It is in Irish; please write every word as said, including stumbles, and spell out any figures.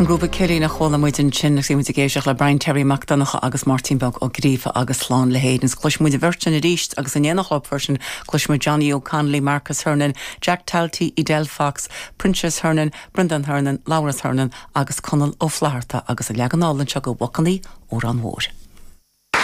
An grúpa Cillín a chuala muid ansin agus muid ag éisteacht le Brian Terry Mac Donncha agus Máirtín Beag Ó Gríofa agus Slán le hÉirinn. Cloisfidh muid an bheirt sin arís agus in éineacht leo freisin cloisfidh muid Johnny O'Connolly, Marcus Hernon, Jack Talty, Edel Fox, Princess Hernon, Brendan Hernon, Laurence Hernon agus Conall Ó Flatharta agus a leagan álainn seo de Bhacannaí Órán Mhóir.